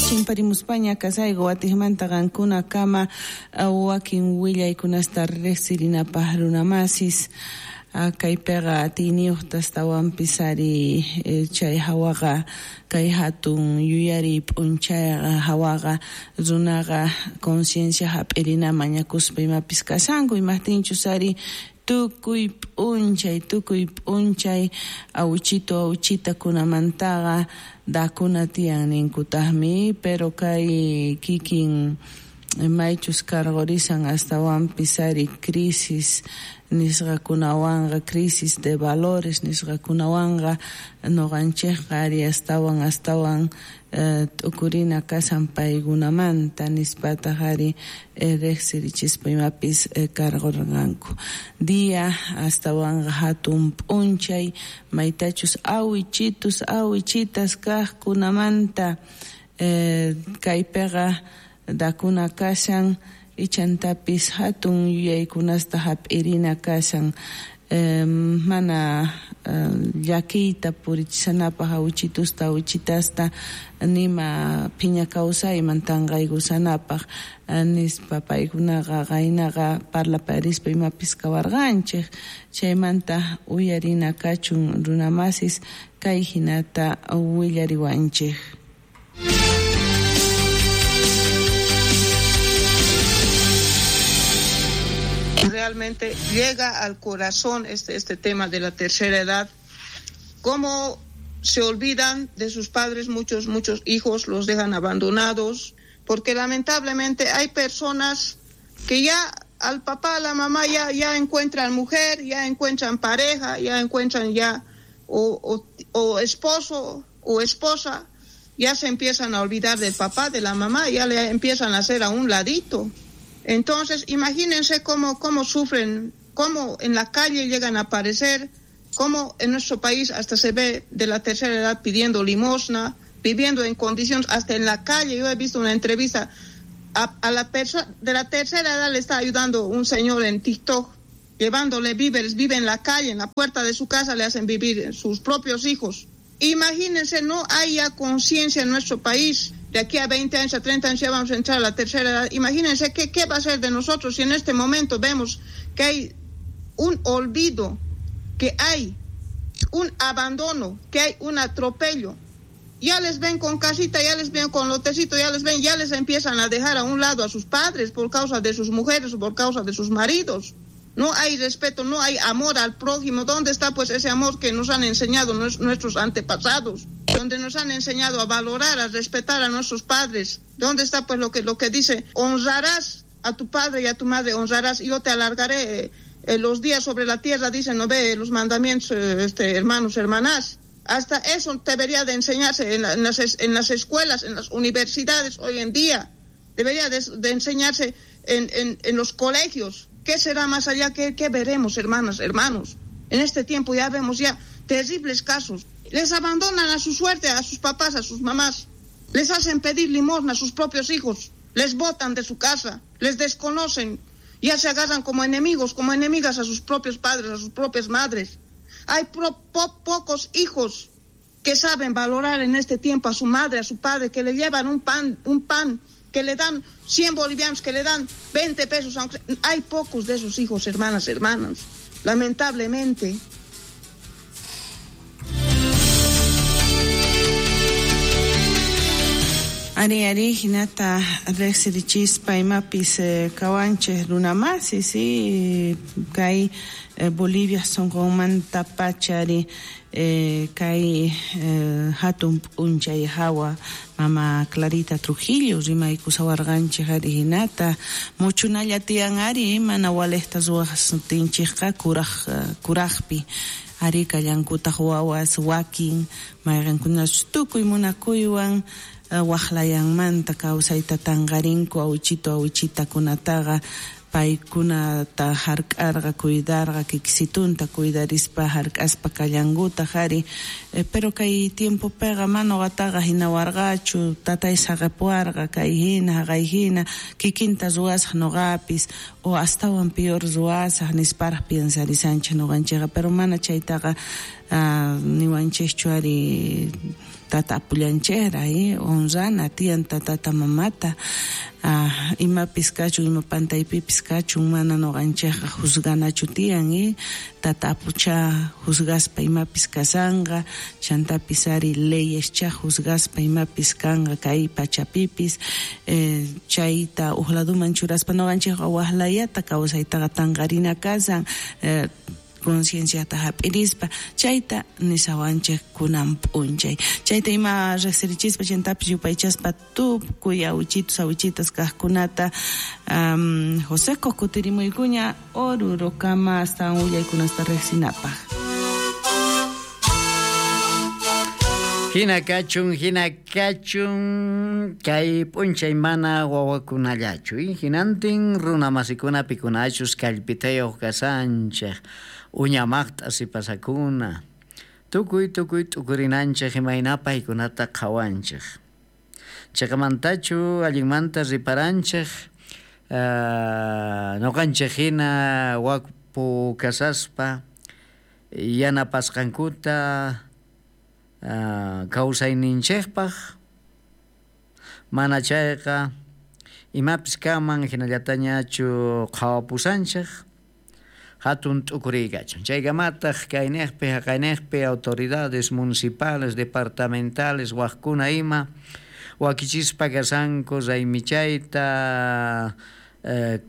Chimparimuspaña kasayku watijmanta qankuna kama wakin willaykunasta riqsirinapaq runamasis kaypiqa atiyniyuqta astawanpis ari chay hawaqa kay hatun yuyariy p'unchayqa hawaqa runaqa conciencia hap'irina mañakuspa imapis kashanku imaqtinchus ari tukuy p'unchay awichito awichitakunamantaqa dakuna tiyan ninkutaqmi pero kay kikin maychus karqurisan astawanpis ari crisis nisqakunawanqa crisis de valores nisqakunawanqa nuqanchikqa ari astawan t'ukurina kashan paykunamanta nispataq ari riqsirichispa imapis karqurqanku día astawanqa hatun p'unchay maytachus awichitus awichitas kaqkunamanta kaypiqa dakuna kashan ichantapis hatun yuyaykunasta hap'irina kashan mana llakiyta purichisanapaq awichitusta awichitasta nima phiña kawsayman tanqaykusanapaq nispa paykunaqa qaynaqa parlaparispa imapis kawarqanchik chaymanta uyarina kachun runamasis kay hinata willariwanchik. Realmente llega al corazón este tema de la tercera edad, cómo se olvidan de sus padres, muchos hijos los dejan abandonados, porque lamentablemente hay personas que ya al papá, a la mamá ya encuentran mujer, ya encuentran pareja, ya encuentran ya o esposo o esposa, ya se empiezan a olvidar del papá, de la mamá, ya le empiezan a hacer a un ladito. Entonces, imagínense cómo sufren, cómo en la calle llegan a aparecer, cómo en nuestro país hasta se ve de la tercera edad pidiendo limosna, viviendo en condiciones, hasta en la calle. Yo he visto una entrevista a la persona de la tercera edad, le está ayudando un señor en TikTok, llevándole víveres, vive en la calle, en la puerta de su casa le hacen vivir sus propios hijos. Imagínense, no hay ya conciencia en nuestro país. De aquí a 20 años, a 30 años ya vamos a entrar a la tercera edad. Imagínense qué va a ser de nosotros si en este momento vemos que hay un olvido, que hay un abandono, que hay un atropello. Ya les ven con casita, ya les ven con lotecito, ya les ven, ya les empiezan a dejar a un lado a sus padres por causa de sus mujeres o por causa de sus maridos. No hay respeto, no hay amor al prójimo. ¿Dónde está pues ese amor que nos han enseñado nuestros antepasados? Donde nos han enseñado a valorar, a respetar a nuestros padres. ¿Dónde está pues lo que dice? Honrarás a tu padre y a tu madre, honrarás, y yo te alargaré los días sobre la tierra, dicen, no ve los mandamientos, hermanos, hermanas. Hasta eso debería de enseñarse en las escuelas, en las universidades hoy en día. Debería de enseñarse en los colegios. ¿Qué será más allá? ¿Qué veremos, hermanas, hermanos? En este tiempo ya vemos ya terribles casos. Les abandonan a su suerte, a sus papás, a sus mamás. Les hacen pedir limosna a sus propios hijos. Les botan de su casa, les desconocen. Ya se agarran como enemigos, como enemigas a sus propios padres, a sus propias madres. Hay pocos hijos que saben valorar en este tiempo a su madre, a su padre, que le llevan un pan, que le dan 100 bolivianos, que le dan 20 pesos. Aunque hay pocos de esos hijos, hermanas, hermanos, lamentablemente. Ari ari hinata riqsirichispa imapis kawanchik runamasi si kay Bolivia sunqunmanta pachari kay hatun p'unchay hawa mama Clarita Trujillo rimaykusawarqanchik ari hinata muchunalla tiyan ari mana walejta ruwaqtinchikqa kuraqpi ari kallankutaq wawas wakin mayqinkunachu tukuy munakuywan waqlayanmanta kawsayta tanqarinku awichito awichitakunataqa paykunata hark'arqa cuidarqa kikisitunta cuidarispa hark'aspa kallankutaq ari pero kay tiempopiqa mana wataqa hinawarqachu tatay saqepuarqa kay hina haqay hina kikinta ruwasaq nuqapis o astawan peor ruwasaq nisparaq piensarisanchik nuqanchikqa pero mana chaytaqa niwanchikchu ari Tata apullanchejra honrana tiyan tatata mamata imapis kachun ima pantaypipis kachun mana noqanchejqa juzganachu tiyan tata apucha juzgaspa imapis kasanqa chantapis ari leyescha juzgaspa imapis kanqa kay pachapipis chayta uj laduman churaspa noqanchejqa wajlayata kawsaytaqa tanqarina kasan concienciata hap'irispa chayta nisawanchej kunan p'unchay chayta ima riqsirichispa chantapis yupaychaspa tukuy awichitos awichitas kaqkunata Joseco kutirimuykuña Orurokama astawan willaykunasta riqsinapaq. Hina kachun kay p'unchay mana wawakunallachu hinantin runa masikuna pikunachus kallpitayuq kasanchej uñamaqta sipasakuna tukuy t'ukurinanchej imayna paykunata qhawanchej chaykamantachu allinmanta riparanchej noqanchej hina wakpu kasaspa yanapasqankuta kawsayninchejpaq mana chayqa imapis kanman hinallatañachu qhawapusanchej hatun t'ukuriykachu chaykamataq kayniqpi haqayniqpi autoridades municipales departamentales waqkuna ima wakichispa kasanku raymichayta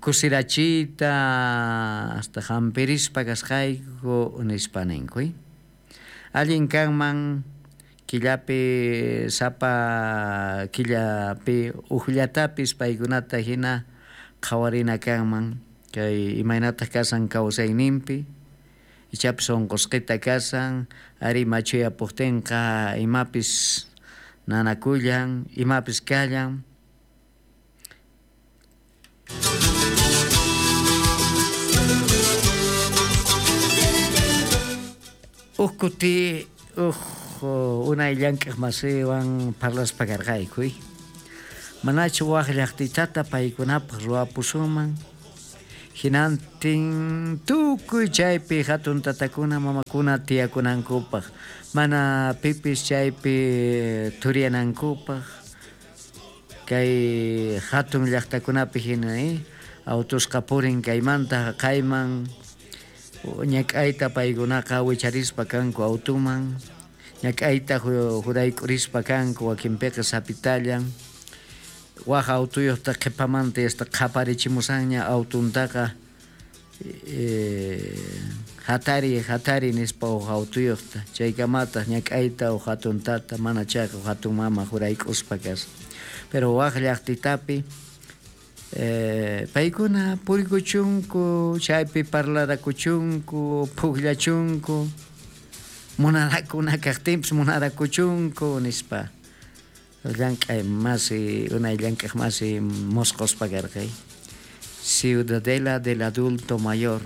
kusirachiyta hasta hampirispa kasqayku nispa ninku allin kanman killapi sapa killapi uqllatapis paykunata hina qhawarina kanman kay imaynataq kasan kawsayninpi ichapis unqusqita kasan ari machuyapuqtinqa imapis nanakullan imapis kallan. Uj kuti uj unay llank'aq masiwan parlaspa karqayku manachu waj llaqtitata paykunapaq ruwapusunman hinantin tukuy chaypi hatun tatakuna mamakuna tiyakunankupaq mana pipis chaypi turiyanankupaq kay hatun llaqtakunapi hina autusqa purin kaymanta haqayman ñak'ayta paykunaqa wicharispa kanku autuman ñak'ayta jurayk'urispa kanku wakinpiqa sapitallan waj autuyuqta qhipamanta hasta qhaparichimusanña autuntaqa hatari nispa uj autuyuqta chaykamataq ñak'ayta uj hatun tata mana chayqa uj hatun mama jurayk'uspa kasqa pero waj llaqtitapi paykuna purikuchunku chaypi parlarakuchunku pukllachunku munarakuna kaqtinpis munarakuchunku nispa llank'ay masi unay llank'aq masi mosqospa karqay Ciudadela del adulto mayor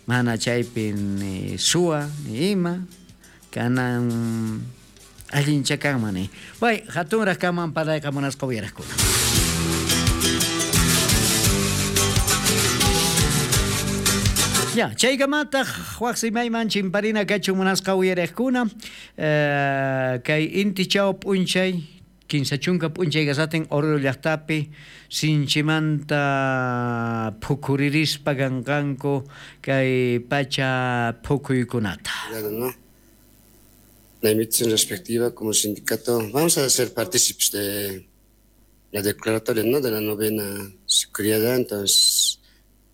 mana chaypi ni suwa ni ima kanan allincha kanman ni way hatunraq kanman parlayqa munasqa uyaraqkuna. Ya, chaykamataq waq simayman chimparina kachun munasqa uyariqkuna kay inti chaw p'unchay 15 p'unchay kasatin Oruro llaqtapi sinchimanta phukuririspa kanqanku kay pacha phukuykunata. ¿No? La invitación respectiva como sindicato, vamos a ser partícipes de la declaratoria, ¿no?, de la novena seguridad, entonces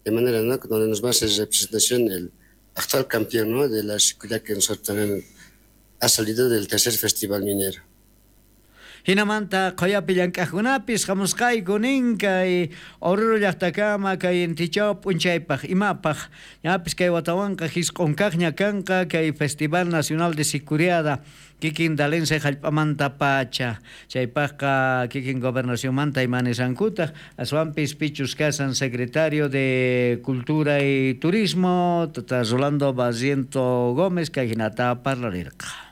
de manera, ¿no?, donde nos va a hacer representación el actual campeón, ¿no?, de la seguridad que nosotros también ha salido del tercer festival minero. Hinamanta qhayapi llank'aqkunapis hamusqayku nin kay Oruro llaqtakama kay intichaw p'unchaypaq imapaq ñapis kay watawanqa hisq'unkaqña kanqa kay Festival Nacional de Sicuriada kikin Dalense hallp'amanta pacha chaypaqqa kikin gobernacionmanta imanisankutaq aswanpis pichus kasan secretario de Cultura y Turismo tata Rolando Barriento Gómez kay hinata parlarirqa.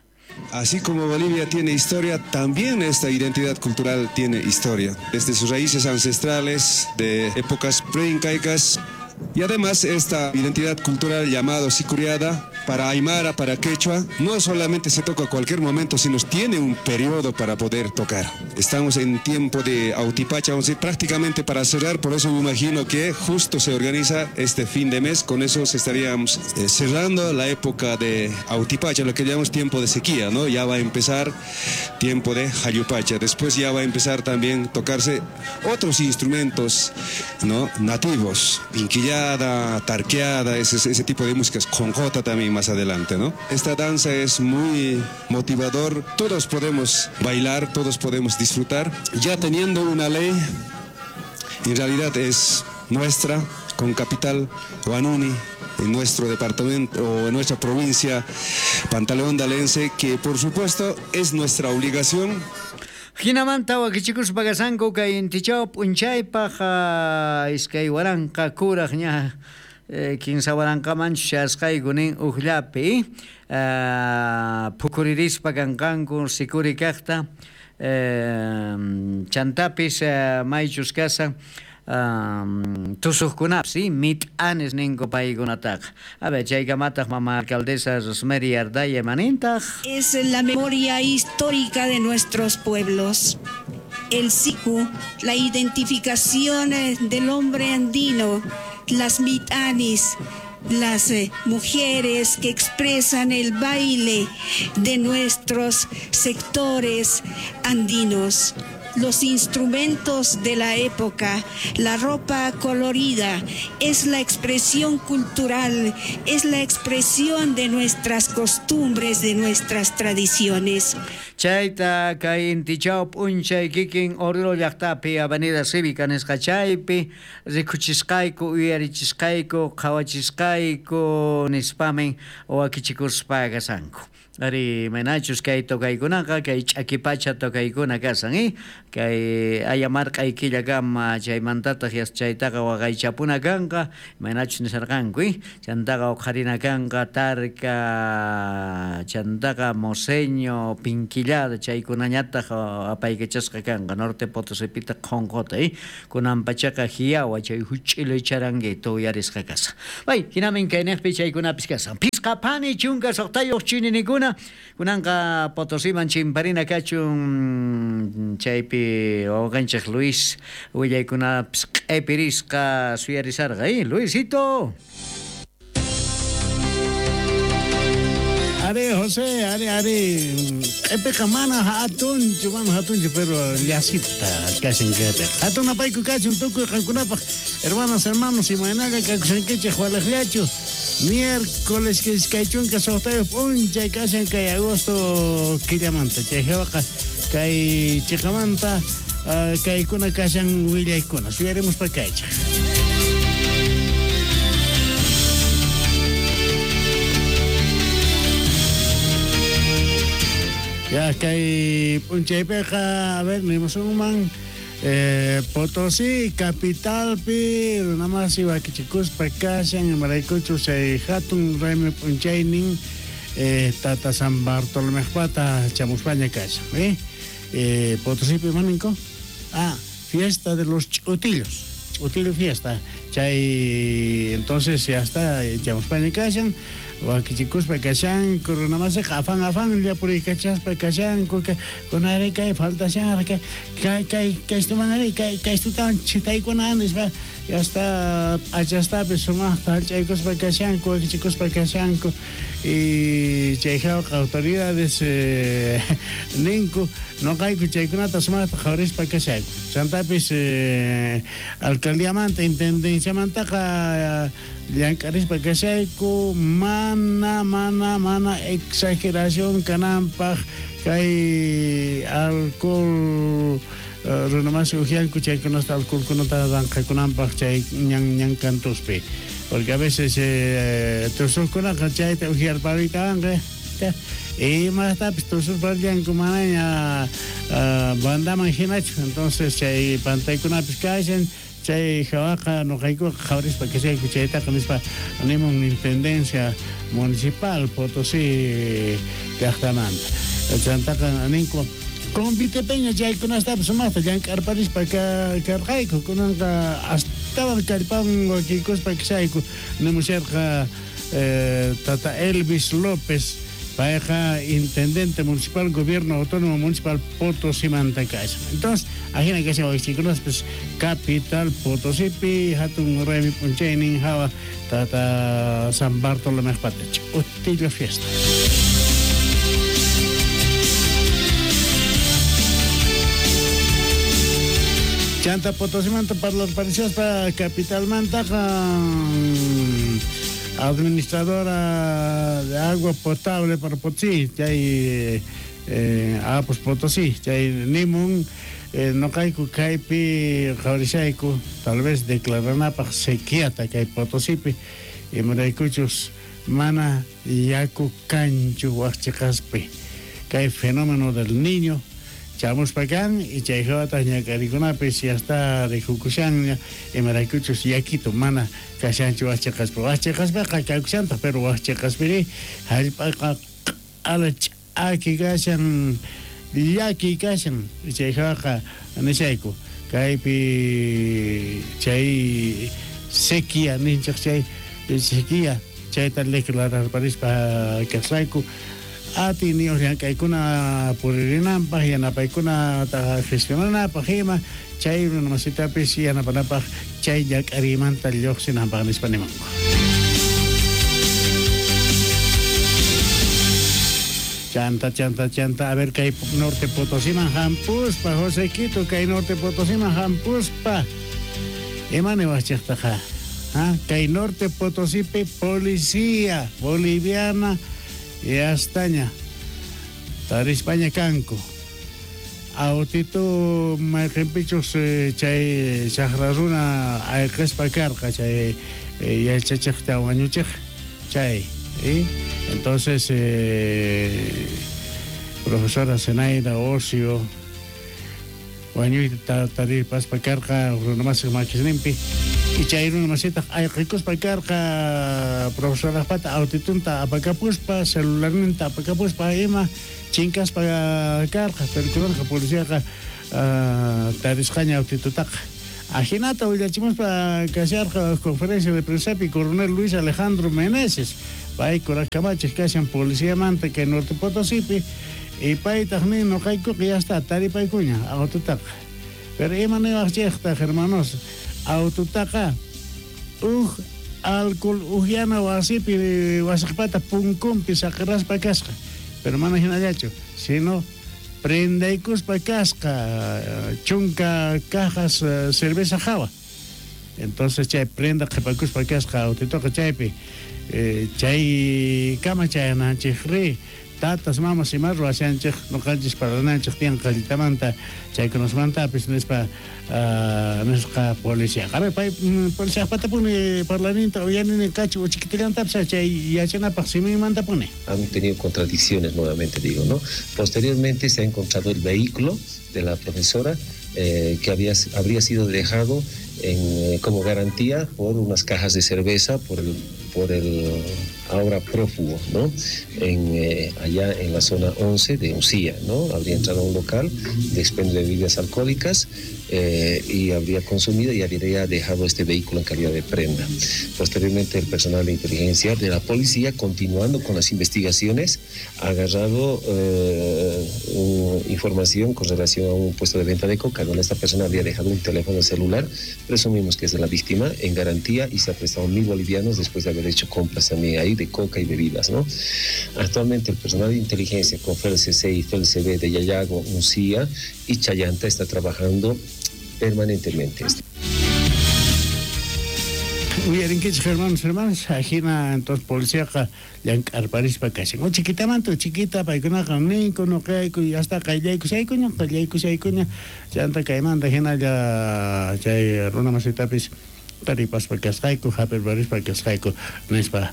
Así como Bolivia tiene historia, también esta identidad cultural tiene historia. Desde sus raíces ancestrales, de épocas preincaicas, y además esta identidad cultural llamada Sicuriada Para aymara, para quechua, no solamente se toca a cualquier momento, sino tiene un periodo para poder tocar. Estamos en tiempo de Autipacha, vamos a decir, prácticamente para cerrar, por eso me imagino que justo se organiza este fin de mes, con eso se estaríamos cerrando la época de Autipacha, lo que llamamos tiempo de sequía, ¿no? Ya va a empezar tiempo de Jayupacha, después ya va a empezar también tocarse otros instrumentos, ¿no? Nativos, pinquillada, tarqueada, ese tipo de músicas, conjota también más adelante, ¿no? Esta danza es muy motivador, todos podemos bailar, todos podemos disfrutar, ya teniendo una ley, en realidad es nuestra, con capital Huanuni, en nuestro departamento o en nuestra provincia Pantaleón de Alense, que por supuesto es nuestra obligación. Jinamanta wakichikuspa kasanku kay intichaw p'unchaypaj iskay waranqa kuraj ña kinsa waranqamanchu chayasqayku nin ujllapi phukuririspa kanqanku sikuri kaqta chantapis maychus kasan tusuqkunapis mit'anis ninku paykunataqa. A ver, chaykamataq mama alcaldesa Rosemary Ardaya manintaq. Es la memoria histórica de nuestros pueblos. El siku, la identificación del hombre andino, las mitanis, las mujeres que expresan el baile de nuestros sectores andinos, los instrumentos de la época, la ropa colorida, es la expresión cultural, es la expresión de nuestras costumbres, de nuestras tradiciones. Chayta kay intichaw p'unchay kikin Oruro llaqtapi Avenida Cívica nisqa chaypi rikuchisqayku, uyarichisqayku, qhawachisqayku nispamin wakichikuspa kasanku. Ari manachus kay tokaykunaqa kay ch'akipacha tokaykuna kasan, kay ayamarq'ay killakama chaymantataq chaytaqa waqaychapuna kanqa manachus nisarqanku, chantaqa uqharina kanqa tarka, chantaqa moseño, pinquillada, chaykunañataq apaykachasqa kanqa Norte Potosipitaq qhonqota, kunan pachaqa hiyawa chay huch'ila charanguito uyarisqa kasan. Bay, hinamin kayniqpi chaykunapis kasan. Pisqa phani chunka suqtayuq chininikuna kunanqa Potosiman chimparina kachun chaypi wawqanchik Luis willaykunapis q'ipirisqa suyarisarqa, Luisito. Are José, are q'ipiqa mana hatunchu, pero llasita kashan kaypiqa. Hatun apayku kachun tukuy qankunapaq, hermanas, hermanos, imaynaqa kakushankichik walaqllachu. Miércoles que iskay chunka suqtayuq p'unchay kashan kay agosto killamanta. Chay hawaqa kay chiqamanta kaykuna kashan willaykuna. Suyarimuspa kaychik. Ya kay p'unchaypiqa, a ver, nimusunman Potosí capitalpi runamasi wakichikuspa kashan imaraykuchu chay hatun raymi p'unchaynin tata San Bartolomejpata chamuspaña kashan, Potosípi imaninko? Fiesta de los ch'utillos, ch'utillo fiesta. Chay entonces ya está chamuspaña kashan wakichikuspa kashan runamasiqa afan afan llapuriykachaspa kashanku kunari kay faltashan kay kay kaystumanari kay kaystutawan chitaykuna nispa ya está p'achastapis sumaqta hallch'aykuspa kashanku wakichikuspa kashanku y chay hawqa autoridades ninku noqayku chaykunata sumaqta qhawarispa kashayku. Chantapis alcaldiamanta intendenciamantaqa llank'arispa kashayku mana exageración kananpaq kay alcohol runamasi ujianku chaykunasta alcoholkunata ranqakunanpaq chay ñan kantuspi, porque a veces tusuqkunaqa chayta ujiarpariytawanqa imastapis tusurparllanku manaña bandaman hinachu. Entonces chay pantaykunapis kashan chay hawaqa noqaykuqa qhawarispa kashayku chaytaqa nispa nimun intendencia municipal Potosí llaqtamanta. Chantaqa ninku convitepeña chaykunastapis sumaqta llank'arparispa karqayku kunanqa astawan kallpawan wakiykuspa kashayku nimusharqa Tata Elvis López, payqa intendente municipal gobierno autónomo municipal Potosimanta kashan. Entonces, ajina kashan wakichikunaspis capital Potosipi hatun raymi p'unchaynin hawa Tata San Bartolomejpata ch'utilla fiesta. Chanta Potosimanta parlarparishaspa capitalmantaqa administradora de agua potable para Potosí, chay Apos Potosí, chay nimun noqayku kaypi qhawarishayku tal vez declaranapaq sequiata kay Potosipi, imaraykuchus mana yaku kanchu waj cheqaspi kay fenómeno del niño chamuspa kan y chay hawataq ñak'arikunapis ya está rikukushanña imaraykuchus yakito mana kashanchu waj cheqaspi, waj cheqaspiqa kakushantaq pero waj cheqaspiri hallp'aqa q'ala ch'aki kashan llaki kashan chay hawaqa nishayku kaypi chay sequía ninchej chay sequía chayta declararparispa kasqayku atiyniyuq llank'aykuna puririnanpaq yanapaykunata gestionanapaq ima chay runamasitapis yanapanapaq chay llak'ariymanta lluqsinanpaq nispa nimanku. Chanta, chanta, chanta, a ver kay Norte Potosiman hampuspa, José Quito, kay Norte Potosiman hampuspa. Ima niwaqchiktaqa? ¿Ah? Kay Norte Potosipi policía boliviana yastaña tarispaña kanku. Autito mayqinpichus chay chaqra runa ayqispa karqa chay yachachiqta wañuchiq chay. ¿Sí? Entonces, profesora Zenaida Ocio, wañuyta taripaspa karqa runamasiq makisninpi y chay runamasitaq ayqikuspa karqa profesorajpata autitunta apakapuspa celularninta apakapuspa ima chinkaspa karqa, pero kunanqa policiaqa tarisqaña autitutaqa. Ajinata willachimuspa kasharqa conferencia de prensapi coronel Luis Alejandro Meneses, pay kuraj kashan policiamanta kay Norte Potosipi y paytaq nin noqaykuqa ya está taripaykuña aututaqa. Pero ima niwaqchiktaj hermanos, aututaqa uj alcohol ujyana wasipi wasiqpata punkunpi saqiraspa kasqa, pero mana hinallachu, sino prendaykuspa kasqa chunka cajas cerveza hawa. Entonces chay prenda qhipakuspa kasqa autitoqa chaypi chay kama chayananchik ri tatas mamas ima ruwashanchik noqanchis parlananchik tiyan qallitamanta chaykunasmantapis nispa nisqa policía. A ver, pay policía patapuni parlaninta uyanini kachu uchikitilantapis chay yachanapaq siminmantapuni. Han tenido contradicciones nuevamente, digo, ¿no? Posteriormente se ha encontrado el vehículo de la profesora que habría sido dejado como garantía por unas cajas de cerveza por el ahora prófugo, ¿no? Allá en la zona 11 de Uncía, ¿no? Habría entrado a un local de expendio de bebidas alcohólicas y habría consumido y habría dejado este vehículo en calidad de prenda. Posteriormente, el personal de inteligencia de la policía, continuando con las investigaciones, ha agarrado información con relación a un puesto de venta de coca, donde esta persona habría dejado un teléfono celular, presumimos que es de la víctima, en garantía, y se ha prestado 1.000 bolivianos después de haber hecho compras también ahí de coca y bebidas, ¿no? Actualmente el personal de inteligencia con FELCC y FELCB de Yayago, Uncía y Chayanta está trabajando permanentemente. Uyarinkichik hermanos, hermanas, ajina entonces policíaqa llank'arparispa kashan. O chiquitamanta chiquita paykunaqa ninku nuqayku y hasta qayllaykushaykuña, qayllaykushaykuña, chanta kaymanta hinalla chay runamasitapis taripaspa kasqayku, hap'irparispa kasqayku nispa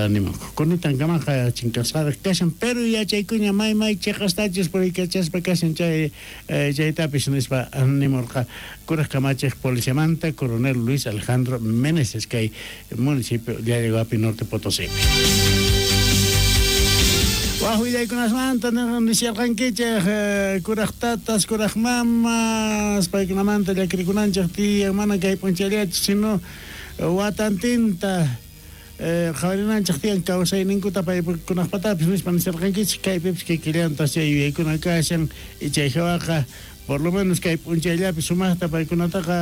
nimanku. Kunutankamaqa chinkasqaraq kashan, pero yachaykuña may may chiqastachus puriykachaspa kashan chay chaytapis nispa nimurqa kuraj kamachiq policiamanta coronel Luis Alejandro Meneses kay municipio Llallaguapi Norte Potosí. Wajwillaykunasmanta nisharqankichik kuraj tatas, kuraj mamas, paykunamanta llakirikunanchik tiyan mana kay p'unchayllachu, sino watantinta Qhawarinanchej tiyan kawsayninkuta paykunajpatapis nispa nisharqankichej, kaypipis kikillantaj chay yuyaykuna kashan, chay jawaqa por lo menos kay p'unchayllapi sumajta paykunataqa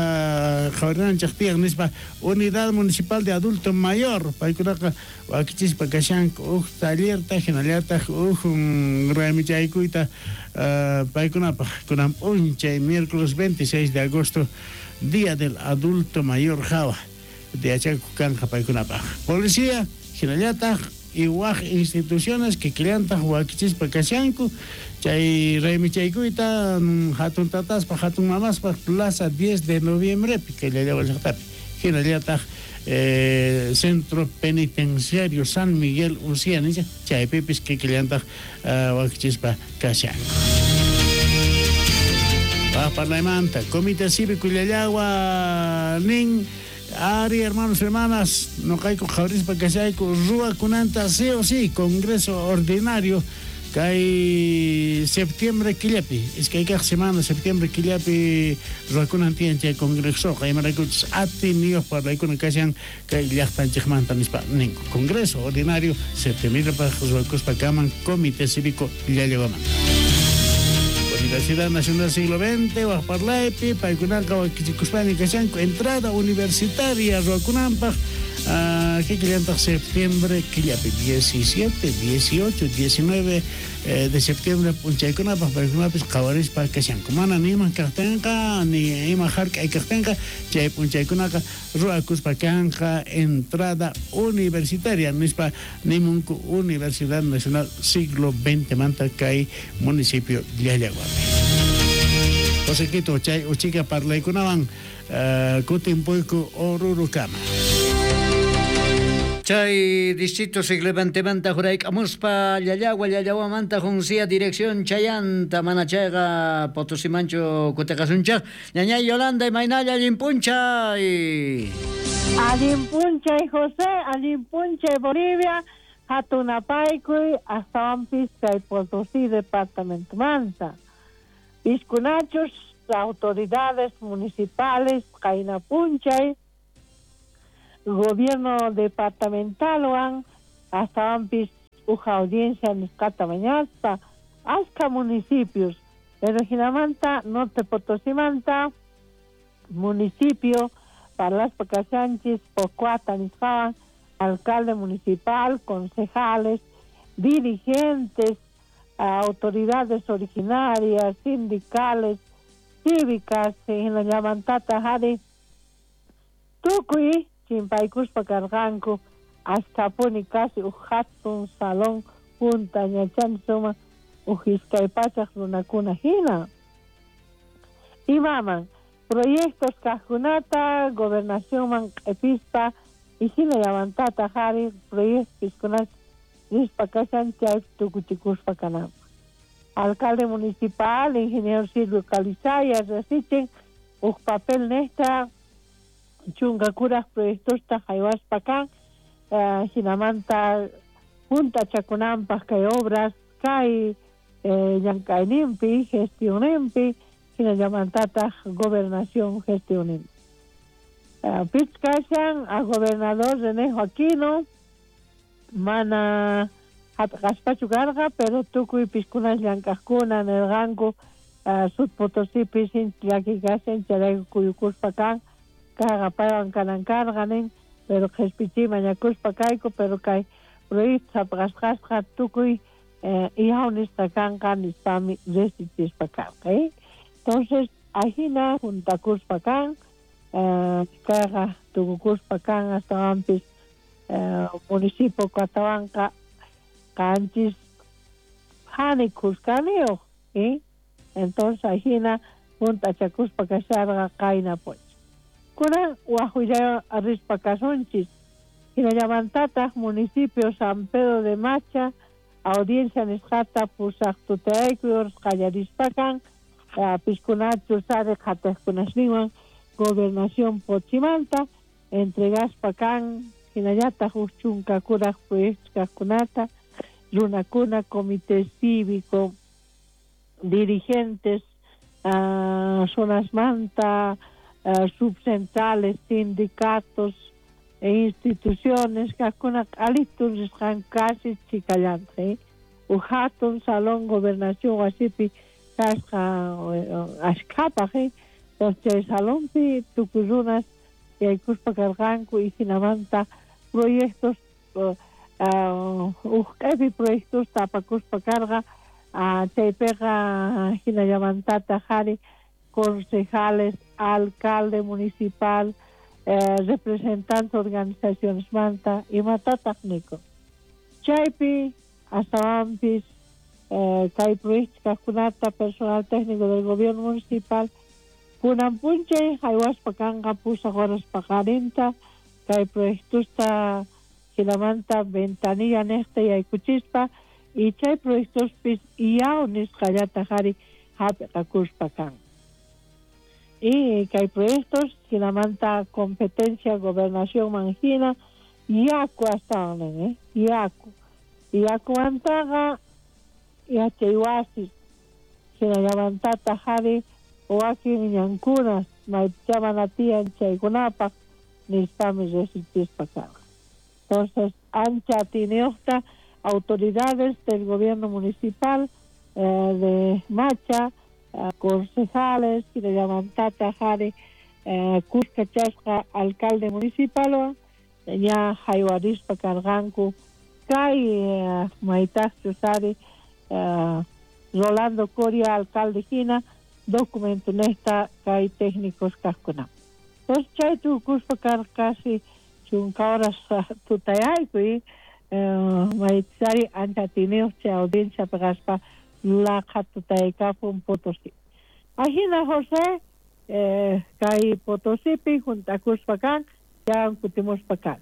qhawarinanchej tiyan nispa. Unidad Municipal de Adulto Mayor paykunaqa wakichispa kashanku uj tallerta jinallataj uj raymichaykuyta paykunapaj kunan p'unchay miércoles 26 de agosto Día del Adulto Mayor jawa yachakuq kanqa paykunapaj. Policía jinallataj y waj instituciones kikillantaj wakichispa kashanku chay raymichaykuyta hatun tataspaj hatun mamaspaj Plaza 10 de Noviembrepi kay Llallagua llaqtapi jinallataj Centro Penitenciario San Miguel Usia nisqa chaypipis kikillantaj wakichispa kashanku. Waj parlaymanta Comité Cívico Llallagua nin: Ari, hermanos, hermanas, noqayku qhawarispa kashayku ruwakunanta sí o sí Congreso Ordinario kay septiembre killapi, iskay kaq semana septiembre killapi ruwakunan tiyan chay congresoqa, imaraykuchus atiniyuq parlaykuna kashan kay llaqtanchikmanta nispa ninku. Congreso Ordinario septiembrepaq ruwakuspa kaman Comité Cívico Llallaguamanta. Universidad Nacional Siglo XX waj parlaypi paykunaqa wakichikuspaña kashanku entrada universitaria ruwakunanpaq kikillantaq septiembre killapi 17, 18, 19 de septiembre p'unchaykunapaq paykunapis qhawarispa kashanku. Mana ni ima kaqtinqa ni ima hark'ay kaqtinqa chay p'unchaykunaqa ruwakuspa kanqa entrada universitaria nispa nimunku Universidad Nacional Siglo XX manta kay municipio Llallaguapi. José Quito chay uchika parlaykunawan kutimpuyku Orurukama. Chay distrito siglo XX jurayk'amuspa Llallagua Llallaguamanta Juncia dirección chayanta mana chayqa Potosimanchu kutiqasunchaq. Ñañay Yolanda, imaynalla allin p'unchay. Allin p'unchay José, allin p'unchay Bolivia, hatunapaykuy astawanpis kay Potosí departamentomanta. Piskunachus autoridades municipales qayna p'unchay gobierno departamentalwan astawanpis uj audiencia nisqata mañaspa ashka municipios, pero jinamanta Norte Potosimanta municipio parlaspa kashanchis Pocuata nisqawan alcalde municipal, concejales, dirigentes, autoridades originarias, sindicales, cívicas, hinallamantata jari tukuy chimpaykuspa karqanku ashkapuni casi uj hatun salón junta ñachani suma uj iskay pachaq runakuna hina. Imaman proyectos kaqkunata gobernacionman q'ipispa y hinallamantata jari proyectos nispa kashan chay tukuchikuspa kananpaq. Alcalde municipal, ingeniero Silvio Calizaya, resichin uj papel nesta chunka kuraj proyectosta haywaspa kan hinamanta junta chakunanpaq kay obras kay llank'ayninpi gestionninpi hinallamantataq gobernación gestionninpi. Pichkashan a gobernador René Joaquino mana hap'qaspachu karqa pero tukuy piskunas llank'aqkuna nirqanku Sud Potosipis sinchi llaki kashan chayrayku kuyukuspa kan kayqa paywan kanan karqa nin pero qhispichiy mañakuspa kayku pero kay proyecto hap'qasqasqa tukuy ihaw nisqa kanqa nispami resichispa karqa. Entonces ajina juntakuspa kan kayqa tukukuspa kan astawanpis municipio katawanqa qanchis hani khuskaniyuq. Entonces ajina juntachakuspa kasharqa qayna p'unchay. Kunan waj rispa kasunchis hinallamantataq municipio San Pedro de Macha audiencia nisqata pusaq tutayaykuy qallarispa kan piskunachus ari qhatiqkunasninwan gobernación Pochimanta entregaspa kan hinallataq uj chunka kuraq proyectos kaqkunata runakuna comité cívico dirigentes zonasmanta subcentrales, sindicatos, Instituciones kajkuna q'alitu risqanku casi chhikallantaq uj hatun salón gobernación wasipi kasqa ashkhapaj entonces chay salonpi tukuy runas yaykuspa karqanku y jinamanta proyectos uj q'epi proyectosta apakuspa karqa chaypiqa jinallamantataq ari concejales, alcalde municipal, representantes organizacionesmanta imatataq nikun. Chaypi astawanpis kay proyectos kajkunata personal técnico del gobierno municipal kunan p'unchay jaywaspa kanqa pusaq horas paqarinta kay proyectosta jinamanta ventanilla niqta yaykuchispa y chay proyectospis iyaw nisqallataq ari hap'iqakuspa kan. Y kay proyectos jinamanta competencia gobernacionman hina yaku astawan nin, yaku. Yakumantaqa yachay wasis jinallamantataq ari wakin ñankunas maypichá mana tiyan chaykunapaq nispami riqsichispa karqa. Entonces ancha atiyniyuqta autoridades del gobierno municipal de Macha, concejales, jinallamantataq ari kuskachasqa alcalde municipalwan ña haywarispa karqanku kay maytaqchus ari Rolando Coria alcalde hina documento nesta kay técnicos kajkuna. Entonces chay tukuspa karqa casi chunka horas tutayayku y maytisari ancha atiyniyuq chay audiencia kaspa laqha tutaykapun Potosí. Ajina José kay Potosipi juntakuspa kan ya kutimuspa kan.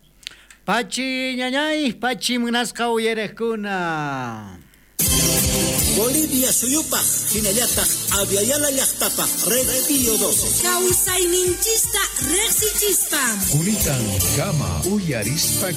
Pachi ñañay, pachi munasqa uyariqkuna. Bolivia suyupaj, hinallataq Aviala llaqtapaj, Red Pío 12. Kawsayninchista riqsichispa. Kunitan kama uyarispa.